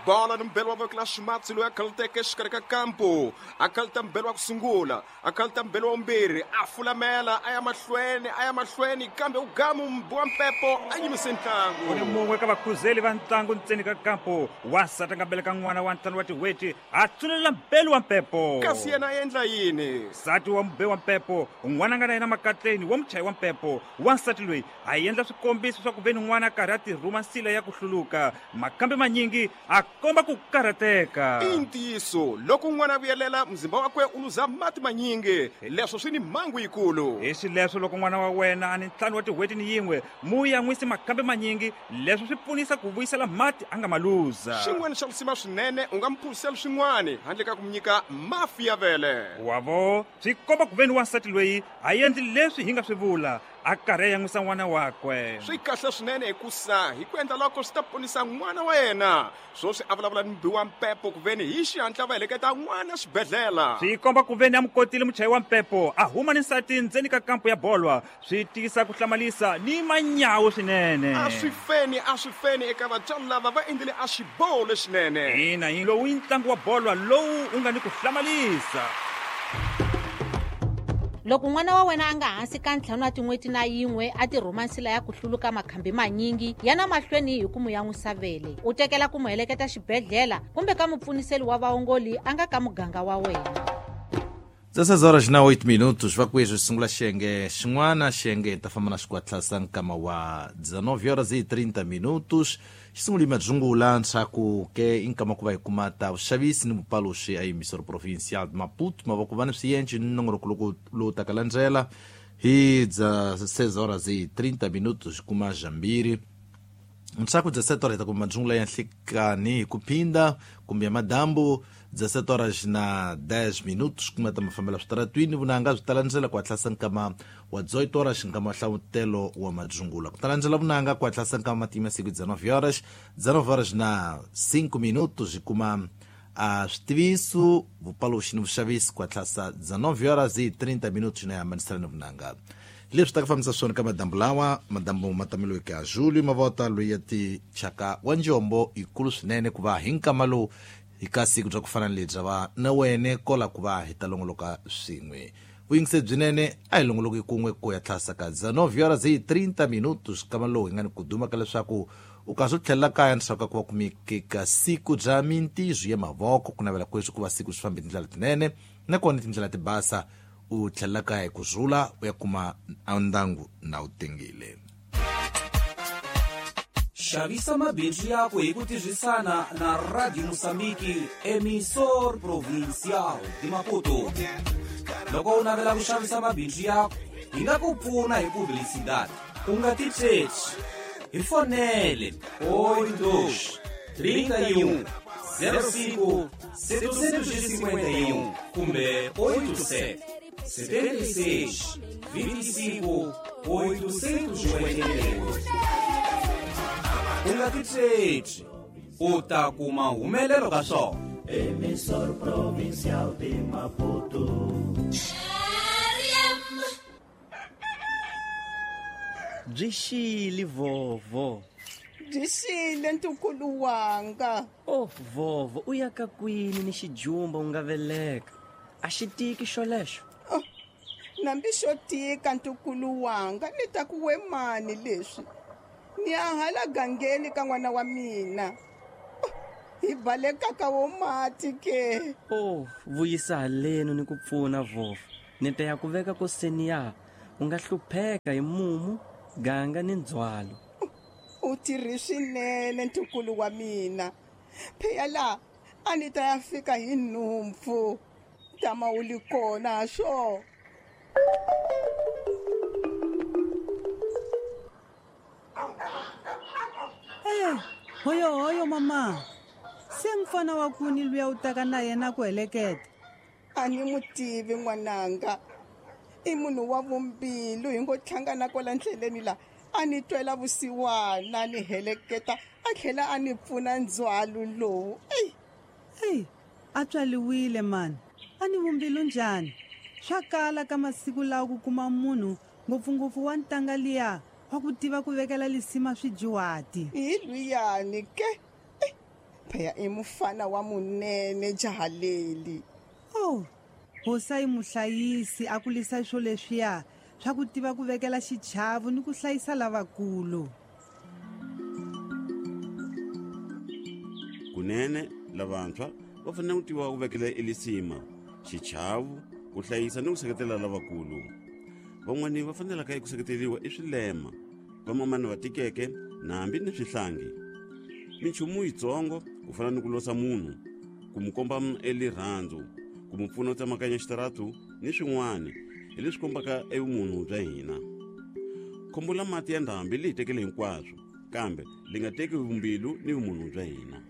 Bola ni mbelo wa voko la ximatsi loyi a khaluteke exikarhi ka kampu. A khaluta mbelo wa ku sungula, a khaluta mbelo wa vumbirhi, a fulamela a ya mahlweni, a ya mahlweni, kambe u gamu mbi wa mpepo a yimise ntlangu. Ku ni mun'we ka vakhuzeli va ntlangu ntseni ka kampu, wansati a nga beleka n'wana wa ntlhanu wa tin'hweti, a tsunelela mbelu wa mpepo. Kasi yena a endla yini? Nsati wa mube wa mpepo, n'wana a nga na yena makatleni wa muchayi wa mpepo. Wansati loyi a endla swikombiso swa ku ve ni n'wana a karhi a tirhuma nsila ya ku hluluka. Makambe manyingi a komba ku karhateka. I ntiyiso, loko n'wana a vuyelela, muzimba wakwe u luza mati manyingi. Leswo swi ni mhangu yikulu. Hi xileswo, loko n'wana wa wena a ni ntlhanu wa tin'hweti ni yin'we, mu yan'wisi makambe manyingi. Leswo swi pfunisa ku vuyisela mati a nga ma luza. Xin'wana xa lisima swinene, u nga mu phuziseli swin'wana handle ka ku mu nyika mafi ya vele. Wa vo, swi komba ku ve ni wansati loyi a endli leswi hi nga swi vula. A karhi a yan'wisa n'wana wakwe. Swi kahle swinene hikusa hi ku endla loko swi ta ponisa n'wana wa yena. Swoswi a vulavula ni mubi wa mpepo kuveni hi xihatla va heleketa n'wana xibedhlela. Swi komba kuveni a mu kotile muchayi wa mpepo a huma ni nsati ndzeni ka kampu ya bolwa. Swi tisa ku hlamalisa ni manyawu swinene. A swi feni, a swi feni eka vatswari lava va endlile a xiboho lexinene. Ina, hi lowu i ntlangu wa bolwa lowu wu nga ni ku hlamalisa. Loko n'wana wa wena a nga hansi ka ntlhanu wa tin'hweti na yin'we a tirhuma nsila ya ku hluluka makhambi manyingi, yana mahlweni hi ku mu yan'wisa vele. U tekela ku mu heleketa xibedhlela kumbe ka mupfuniseli wa vaongoli a nga ka muganga wa wena. 16 horas na 8 minutos vakwezwi sungula xiyenge xin'wana xiyenge hi ta famba na xikwatlasa nkama wa 19 horas e 30 minutos xisungula imadzungula ntshaku ke i nkama ku va hi kuma ta vuxavisi ni vupaluxi a emissor provincial de Maputo mavoko va ni swiyenci ni nongonoko loko lowu taka landzela hi 16 horas e 30 minutos kuma jambiri ntshaku 17 horas hi ta kuma madzungula ya nhlikani hi ku phinda kumbe ya madambu 17 horas na 10 minutos kuma ta mafambela switaratwini vunanga byi ta landzela ku hatlasa nkama wa 18 horas nkama wa hlavutelo wa madzungula ku ta landzela vunanga ku hatlasa nkama matima siku 19 horas 19 horas na 5 minutos hi kuma a switiviso vupaluxi ni vuxavisi ku hatlasa 19 horas e 30 minutos na hambanisela ni vunanga leswi ta ku fambisa swona ka madambu lawa madambu ma tameliweke ya Julio Mavota loyi ya tichaka wa njombo yikulu swinene ku va hi nkama lowu hi ka siku bya ku fana ni lebyi va na wene kola ku va hi ta longoloka swin'we vuyingiseri byinene a hi longoloki kun'we ku ya tlhasa ka 19 horas e 30 minutos nkama lowu hi nga ni ku duma ka leswaku u kasi u tlhelela kaya ndzhaku ka ku va kumeke ka siku bya mintirho ya mavoko ku navela kweswi ku va siku swi fambe tindlela tinene nakona tindlela ti basa u tlhelela kaya hi ku rhula u ya kuma ndyangu na u tengile. Xavisa mabindzu yaku hi ku tirhisana na Radio Moçambique, Emissor Provincial de Maputo. Loko u navela ku xavisa mabindzu yaku, hi nga ku pfuna hi publicidade. U nga titshetswi. Hi fonele 82 31 05 751 kumbe 87 76 25 888. U nga titshetswi, u ta kuma humelelo ka swona. Emissor Provincial de Maputo. Byi xile vhovho. Byi xile ntukulu wanga. Oh vhovho u ya ka kwini ni xijumba u nga veleka? A xi tiki xolexo? Oh, nambi xo tika ntukulu wanga ni ta ku we mani leswi. Ni ya hala gangeni ka n'wana wa mina. Oh, hi baleka ka wo mati ke. Oh, vuyisa halenu ni ku pfuna vhovho. Ni ta ya ku veka ko seniya. U nga hlupheka hi mumu, ganga ni ndzhwalo. U tirhi swinene ntukulu wa mina. Pheya la a ni ta ya fika hi nhumpfu. Tama u li kona ha swo. Eh, hoyo hoyo mama. Se mfana wa kuni luya u taka na yena ku heleketa. A ni mu tivi n'wananga. I munhu wa vumbilu hi ngo hlangana kwala ndleleni la a ni twela vusiwana ni heleketa a tlhela a ni pfuna ndzhwalo lowu. Eyi. Eyi, a tswaliwile mani. A ni vumbilu njhani? Swa kala ka masiku lawa ku kuma munhu ngopfungopfu wa ntanga liya wa ku tiva ku vekela lisima swidyuhati. Hi lwiyani ke. Phaya i mufana wa munene jaha leli. Oh, hosi a yi muhlayisi a kulisa swo leswiya swa ku tiva ku vekela xichavo ni ku hlayisa lavakulu. Kunene lavantshwa va fanele ku tiva ku vekela elisima, xichavo, ku hlayisa ni ku seketela lavakulu. Van'wani va fanelaka eku seketeriwa i swilema, vamamani va tikeke na hambi ni swihlangi. Minchumu yitsongo ku fana ni ku losa munhu, ku mu komba elirhandzu, ku mu pfuna ku tsemakanya xitaratu ni swin'wana hi leswi kombaka evumunhu bya hina. Khombo la mati ya ndhambi li hi tekele hinkwaswo, kambe li nga teki vumbilu ni vumunhu bya hina.